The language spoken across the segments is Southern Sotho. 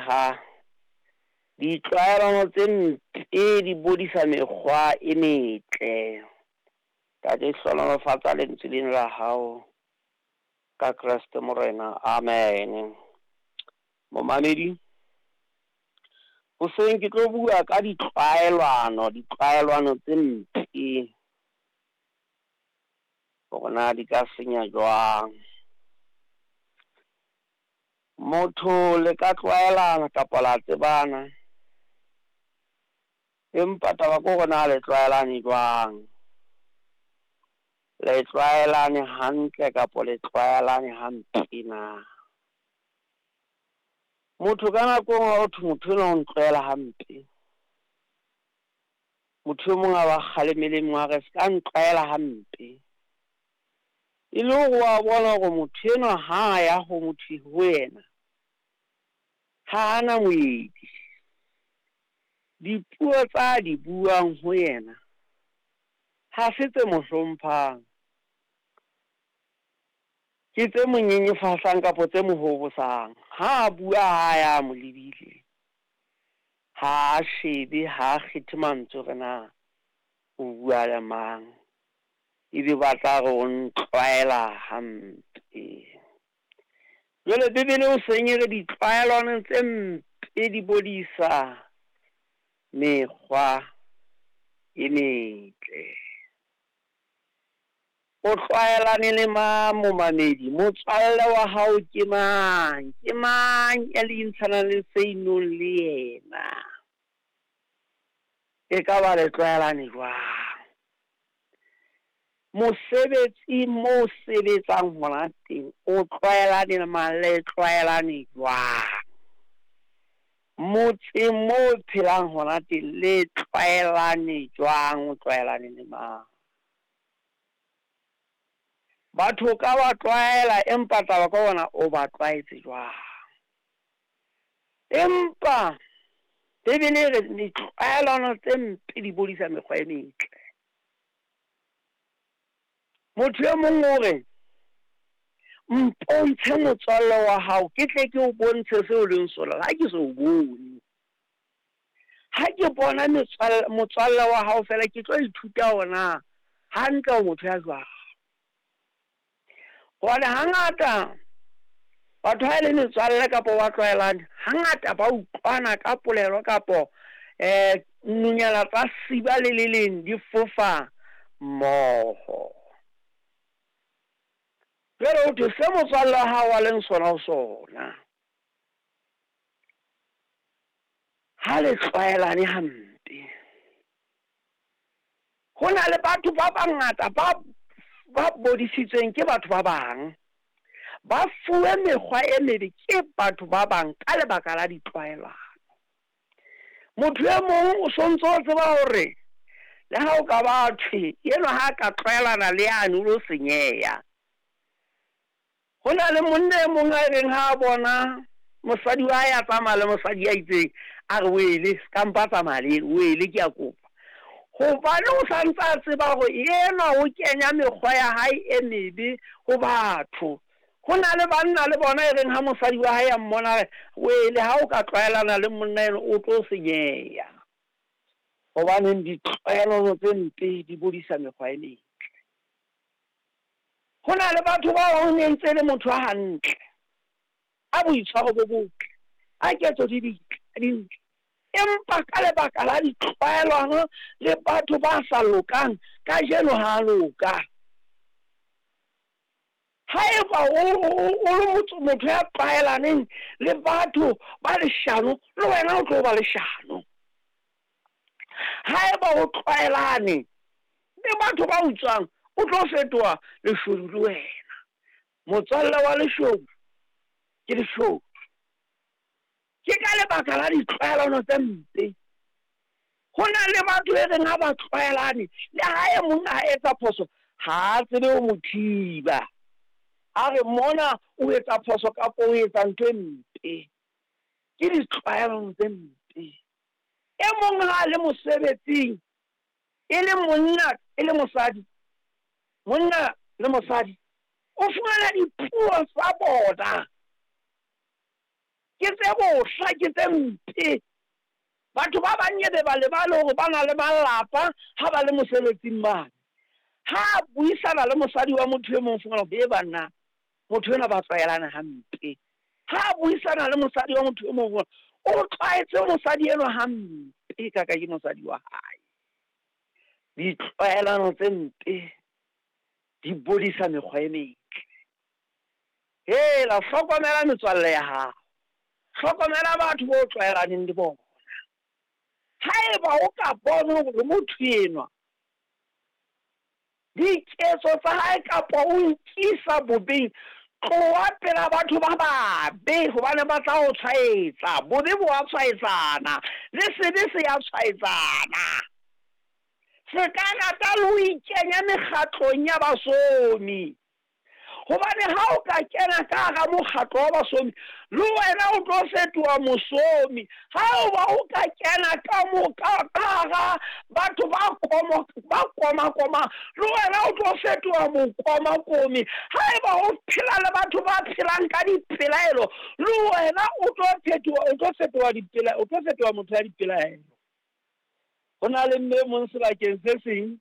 Ha ditlwaelano tse mpe di bodisa mekgwa e metle. Ntate, hlohonolofatsa lentswe lena la hao ka Kreste Morena. Amen. Momamedi, hoseng ke tlo bua ka ditlwaelano, ditlwaelano tse mpe, hore na di ka senya jwang. Motho le ka tlwaelana kapa la tsebana, empa taba ke hore na le tlwaelane jwang. Le tlwaelane hantle kapa le tlwaelane hampe na? Motho ka nako e nngwe ha ho thwe motho enwa o ntlwaela hampe, motho e mong a ba kgalemele e mong a re ska ntlwaela hampe. E le hore wa bona hore motho enwa ha ya ho motho ho yena, ha ana moedi. Dipuo tsa di buang ho yena ha se tse mo hlomphang, ke tse mo nyenyefatsang kapa tse mo hobosang. Ha a bua ha ya mo lebile, ha a shebe, ha a kgethe mantswe hore na o bua le mang, ebe ba tla re o ntlwaela hampe. Jwale Bibele o seng e re ditlwaelano tse mpe di bodisa mekgwa e metle. O tlwaelane le mang, momamedi? Motswalle wa hao ke mang? Ke mang ya le intshanang le seinong le yena? E ka ba le tlwaelane jwang? Mosebetsi mo sebetsang hona teng, o tlwaelane le mang? Le tlwaelane jwang? Motseng mo o phelang hona teng, le tlwaelane jwang? O tlwaelane le mang? Batho ka ba tlwaela, empa taba ka bona o ba tlwaetse jwang? Empa Bibele e re ditlwaelano tse mpe di bodisa mekgwa e metle. Motho e mong o re, mpontshe motswalle wa hao, ke tle ke o bontshe seo o leng sona, ha ke so o bone. Ha ke bona motswalle wa hao fela, ke tlo ithuta hore na hantle o motho ya jwang. Hobane hangata batho ha e le metswalle kapa ba tlwaelane, hangata ba utlwana ka polelo kapo nonyana tsa siba le le leng di fofa mmoho. Jwale ho thwe se motswalle wa hao a leng sona ho sona, ha le tlwaelane hampe. Ho na le batho ba bangata ba bodisitsweng ke batho ba bang, ba fuwe mekgwa e mebe ke batho ba bang ka lebaka la ditlwaelano. Motho e mong o sontso o tseba hore le ha o ka ba thwe enwa ha ka tlwaelana le yane o lo senyeha. Ho na le monna e mong a reng ha a bona mosadi wa hae a tsamaya le mosadi ya itseng, a re wele ska mpa tsamaya le ena, wele ke a kopa. Hobane o santse a tseba hore enwa o kenya mekgwa ya hae e mebe ho batho. Ho na le banna le bona e reng ha mosadi wa hae a mmona re wele ha o ka tlwaelana le monna eno o tlo senyeha. Hobaneng ditlwaelano tse mpe di bodisa mekgwa e metle. Ho na le batho ba bang ne ntse le motho a hantle, a boitshwaro bo botle, a ketso di ditle, dintle, empa ka lebaka la ditlwaelano le batho ba sa lokang, kajeno ha loka. Haeba o le motho ya tlwaelaneng le batho ba leshano, le wena o tlo ba leshano. Haeba o tlwaelane le batho ba utswang, o tlo fetoha leshodu le wena. Motswalle wa leshodu ke leshodu. Ke ka lebaka la ditlwaelano tse mpe. Ho na le batho e reng ha ba tlwaelane, le ha e mong a etsa phoso, ha a tsebe ho mo thiba. A re mona o etsa phoso kapa o etsa ntho e mpe. Ke ditlwaelano tse mpe. E mong ha a le mosebetsing, e le monna, e le mosadi, monna le mosadi, o fumana dipuo tsa bona. Ke tse bohla, ke tse mpe. Batho ba bang ebe ba lebale hore ba na le malapa ha ba le mosebetsing mane. Ha a buisana le mosadi wa motho e mong, o fumana hore, he banna, motho enwa ba tlwaelane hampe. Ha a buisana le mosadi wa motho e mong, o tlwaetse mosadi enwa hampe ka ka ke mosadi wa hae. Ditlwaelano tse mpe di bodisa mekgwa e metle. Hela, hlokomela metswalle ya hao. Hlokomela batho bo tlwaelaneng le bona. Haeba o ka bona hore motho enwa diketso tsa hae kapa o nkisa bobeng, tloha pela batho ba babe hobane ba tla o tshwaetsa. Bobe bo a tshwaetsana, le sebe se a tshwaetsana. Se ka rata le ho ikenya mekgatlong ya basomi. Hobane ha o ka kena ka hara mokgatlo wa basomi, le wena o tlo fetoha mosomi. Ha o ba o ka kena ka mo ka hara batho ba komo ba komakomang, le wena o tlo fetoha mokomakomi. Haeba o phela le batho ba phelang ka dipelaelo, le wena o tlo phetoha o tlo fetoha dipela o tlo fetoha motho ya dipelaelo. Ho na le mme e mong sebakeng se seng.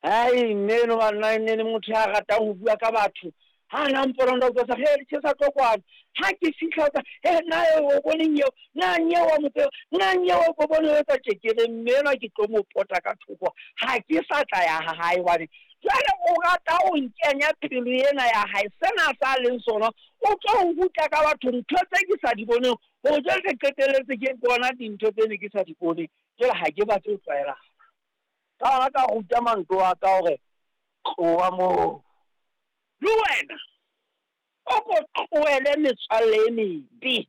Hai mme eno banna e ne le motho ya ratang ho bua ka batho. Ha na mpona nda utlwa sa he le tlo kwano. Ha ke fihla tsa he na e o boneng eo, na nyeo wa motse, na nyeo o bone o etsa tje ke re mme enwa ke tlo mo pota ka thoko. Ha ke sa tla ya ha hae hobane jwale o rata ho nkenya pelo ena ya hae. Sena sa leng sona o tlo nruta ka batho ntho tse ke sa di boneng. Hore jwale ke qetelletse ke bona dintho tse ne ke sa di bone. Jwale ha ke batle ho tlwaelana. Ka hona ka ruta manto a ka hore tloha moo. Le wena o ko tlohele metswalle e mebe.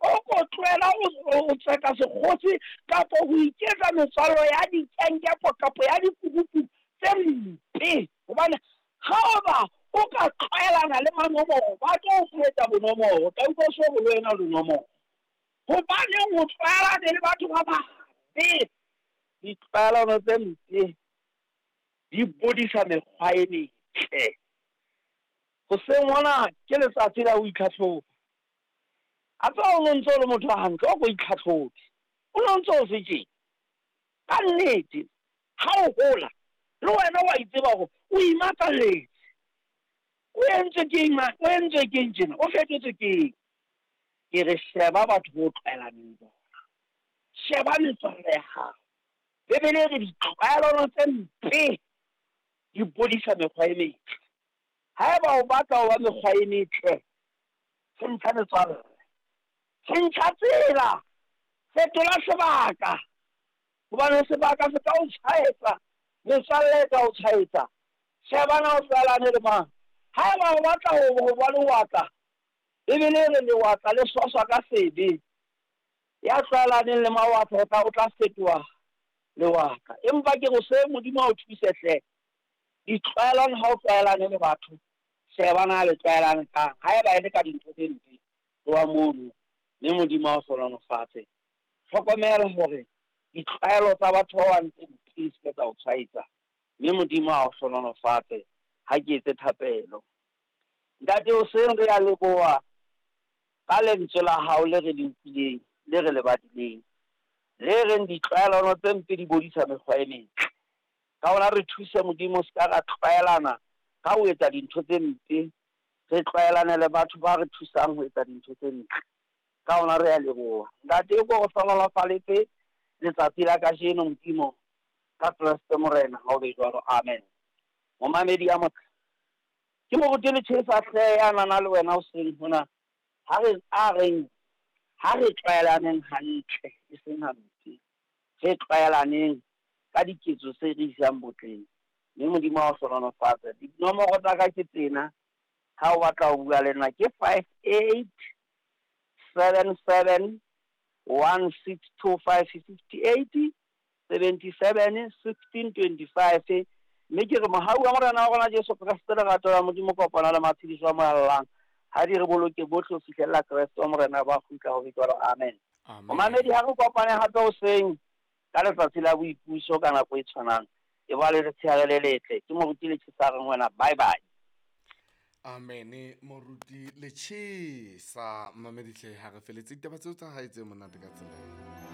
O ko tlohela ho tseka sekgosi kapa ho iketsa metswallo ya dikenkepo kapa ya dikurupu tse mpe. Hobane ha o ba o ka tlwaelana le manomoro, ba tlo o etsa bonomoro. O tla utlwa o so re le wena o lenomoro. Hobaneng o tlwaelane le batho ba babe? Ditlwaelano tse mpe di bodisa mekgwa e metle. Hoseng hona ke letsatsi la ho itlhatlhoba. A tseba o no ntse o le motho a hantle, o ko itlhatlhobe. O no ntse o se tjena. Ka nnete, ha o hola, le wena wa itseba hore o imakalletse. O entswe keng ma, o entswe keng tjena, o fetotswe keng? Ke re sheba batho bo tlwaelaneng le bona. Sheba metswalle ya hao. Bibele e re ditlwaelano tse mpe di bodisa mekgwa e metle. Haeba o batla ho ba mekgwa e metle, tjhentjha metswalle. Tjhentjha tsela, fetola sebaka. Hobane sebaka se ka o tshwaetsa, metswalle e ka o tshwaetsa. Sheba na o tlwaelane le mang. Haeba o batla ho ba lewatla, Bibele e re lewatla le swaswa ka sebe. Ya tlwaelaneng le mawatla o tla o tla fetoha lewatla. Empa ke re se Modimo a o thuse hle. Ditlwaelano ha o tlwaelane le batho, sheba na le tlwaelane kang. Haeba e le ka dintho tse mpe, tloha mono mme Modimo a o hlohonolofatse. Hlokomela hore ditlwaelo tsa batho ba bang tse mpe di se ke tsa o tshwaetsa, mme Modimo a o hlohonolofatse. Ha ke etse thapelo. Ntate, hoseng re a leboha ka lentswe la hao le re le utlwileng, le re le badileng, le reng ditlwaelano tse mpe di bodisa mekgwa e metle. Ka hona re thuse, Modimo, se ka ra tlwaelana ka ho etsa dintho tse mpe, re tlwaelane le batho ba re thusang ho etsa dintho tse ntle. Ka hona re a leboha. Ntate, o ko re hlohonolofaletse letsatsi la kajeno, Modimo, ka Kreste Morena, ha o be jwalo. Amen. Momamedi ya motle, ke moruti Lechesa hle ya nana le wena hoseng hona. Ha re a reng ha re tlwaelaneng hantle, e seng hampe. Re tlwaelaneng ka diketso tse re isang botleng. Mme Modimo a o hlohonolofatse. Dinomoro tsa ka ke tsena, ha o batla ho bua le nna ke 58 77 1625 58 77 16 25. Mme ke re mohau wa Morena wa rona Jesu Kreste, lerato la Modimo, kopano le matshediso a Moya Halalelang, ha di re boloke bohle ho fihlella Kreste wa Morena ba kgutla ho be jwalo. Amen. Momamedi, ha re kopane hape hoseng ka letsatsi la boipuso ka nako e tshwanang. E ba le letshehare le letle. Ke moruti Letjhesa a reng wena bye bye. Amene moruti Lechesa. Mamedihle, ha re feletse ditaba tseo tsa hae tse monate ka tsela.